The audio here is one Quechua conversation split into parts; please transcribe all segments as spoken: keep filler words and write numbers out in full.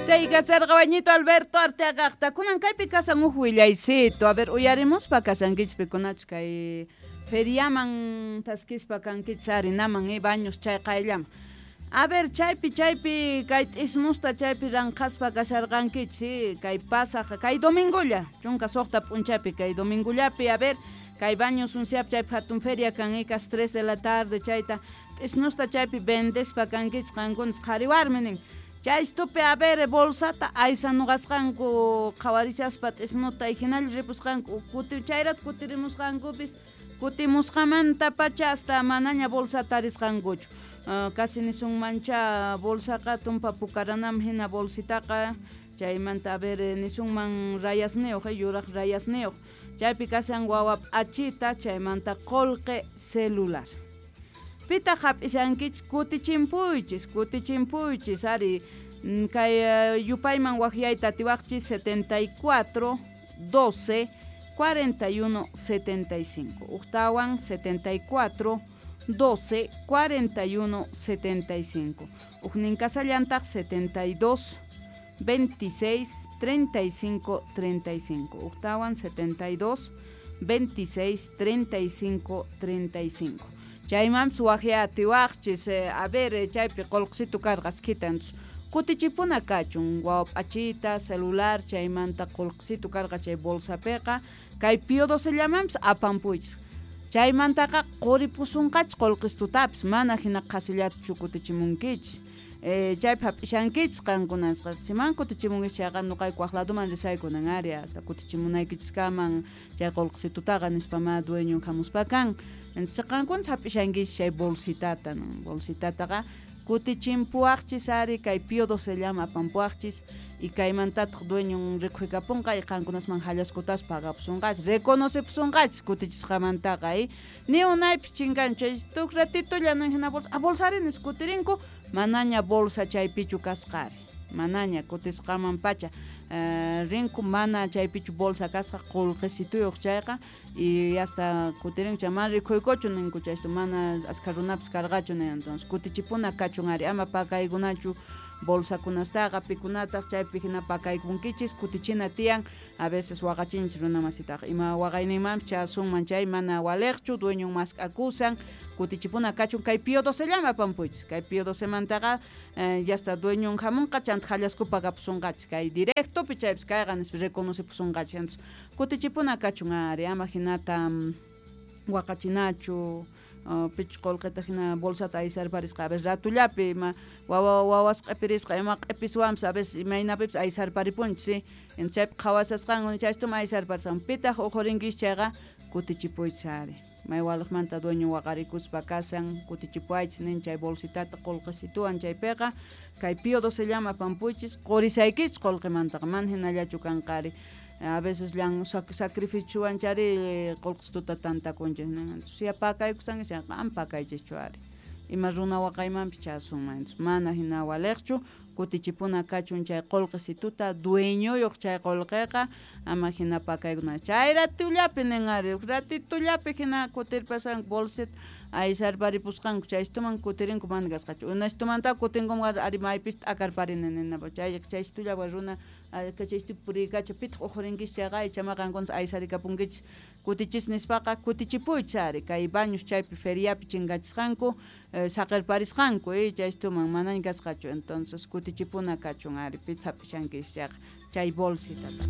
Chay kasarqa wañito Alberto Arteagaqta. Kunan kaypi kasan huk willaycito. A ver, uyarimuspa kasankichis pikunachu kay feriaman taskispa kankichis arinaman eh, baños chay qayllaman. A ver, chaypi chaypi kay t'isnusta chaypi ranqaspa kasharqankichis kay pasaq kay domingolla chunka suqta p'unchapi kay domingollapi a ver kay baños unsiap chaypi hatun feria kan ikas tres de la tarde chayta t'isnusta chaypi vendespa kankichis qankunas qhari warmi nin. Chaystupi a ver bolsata aysanuqasqanku qhawarichaspa t'isnuta hinalla ripusqanku kuti chayrat kutirimusqankupis kutimusqamanta pacha hasta manaña bolsata tarisqankuchu. Uh, casi nisunmancha bolsaqa tumpa pukaranam hina bolsitaqa chaymanta a ver nisunman rayasniyuq yuraq rayasniyuq chaypi kasan wawa p'achita chaymanta qullqi celular. Pitaq hap'ishankichis kutichimpuychis kutichimpuychis ari kay yupayman waqyayta atiwaqchis setenta y cuatro doce cuarenta y uno setenta y cinco uqtawan setenta y cuatro doce cuarenta y uno setenta y cinco uqnin kasallantaq setenta y dos veintiséis treinta y cinco treinta y cinco uqtawan setenta y dos veintiséis treinta y cinco treinta y cinco chaymanpis waqya atiwaqchis a ver chaypi qullqisitu karqa askita kutichipuna kachun wawa p'achita celular chaymanta qullqisitu karqa chay bolsapiqa kay Pío docellamanpis apampuychis chaymantaqa quripusunqachis qullqistutapis mana hina qhasillatachu kutichimunkichis eh, chaypi hap'ishankichis qankunasqa siman kutichimunkichis chayqa nuqayku waq laduman risaykunan ari hasta kutichimunaykichiskaman chay qullqisitutaqa nispamá dueñon hamuspa kan entonces qankunas hap'ishankichis chay bolsitata bolsitataqa kutichimpuwaqchis ari kay Pío docellama apampuwaqchis y kaymantataq dueñon rikhuikapunqa y qankunasman hallaskutas pagapusunqachis reconocepusunqachis kutichisqamantaqa y ni unaypis chinkanchu chay tuk ratitolla nin hina bolsa a bolsari nis kutirinku manaña bolsa chaypichu kasqari manaña kutisqaman pacha uh, rinku mana chaypichu bolsa kasqa qullqisituyuq chayqa y hasta kutirinku chay mana rikhuykuchu ninku chaysto mana askha runapis karqachu nin entonces kutichipuna kachun ari ama pakaykunachu bolsakunastaqa pikunataq chaypi hina pakaykunkichis kutichina tiyan a veces waqachinchis runa masitaqa ima waqayninmanpis chasunman chay mana waliqchu dueñon mask'akusan kutichipuna kachun kay Pío docellama apampuychis kay Pío docemantaqa eh, ya está dueñon hamunqa chanta hallaskupa kapusunqachis kay directopi chaypis kayqa nispa reconocepusunqachis entonces kutichipuna kachun ari ama hinata um, waqachinachu Uh, pichu qullqita hina bolsata aysarparisqa a veces ratullapi ima wawa wawas q'ipirisqa ima q'ipiswanpis a veces imaynapipis aysarparipunchis entonces chaypi qhawasasqanku chaystuma aysarparisqan pitaq uqhurinkichis chayqa kutichipuychis ari may waliqmanta dueño waqarikuspa kasan kutichipuaychis nin chay bolsitata qullqisituwan chaypiqa kay Pío docellama apampuychis qurisaykichis qullqimantaqa mana hinallachu kanqari a veces llan sacrificiowan chari qullqisituta tantakunchis nin siya pakaykusankichis chayqa ama pakaychischu ari ima runa waqaymanpis chasunman mana hina waliqchu kutichipuna kachun chay qullqisituta dueñoyuq chay qullqiqa ama hina pakaykuna chay ratullapi nin ari ratitullapi hina kutirpasanku bolsita aysarparipusqanku chaystuman kutirinku mana kasqachu unashtumanta kutinkuman ari maypis t'akarparini ninapa chay chaystullapi runa chaystu puriykacha pitaq uqhurinkichis chayqa ichama qankunas aysarikapunkichis kutichis nispaqa kutichipuychis ari kay baños chaypi feriapi chinkachisqanku eh, saqirparisqanku eh, chaystuman manaña kasqachu entonces kutichipuna kachun ari pitaq hap'ishankichis chayqa chay bolsitata.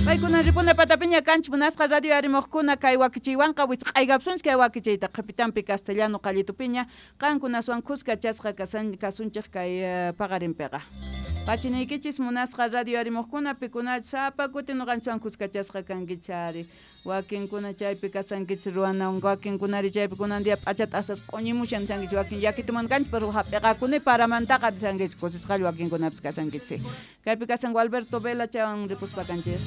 Paykuna ripuna patapiña kanchis munasqa radio arimuqkuna kay wakichiywanqa wisq'aykapusunchis kay wakichiyta qhipitanpi castellano qallitupiña qankunaswan kuska chasqa kasunchik kay uh, paqarinpiqa. Pachiniykichis munasqa radio arimuqkuna pikunachu sapa kuti nuqanchikwan kuskachasqa kankichis ari wakinkuna chaypi kasankichis ruwanawan wakinkunari chaypi kunan día p'achata asas q'uñimushan nisankichis wakin yakituman kanchis pero hap'iqakuni paramantaqa nisankichis kusisqalla wakinkunapis kasankichis kaypi kasanku Alberto Vela chaywan ripuspa kanchis.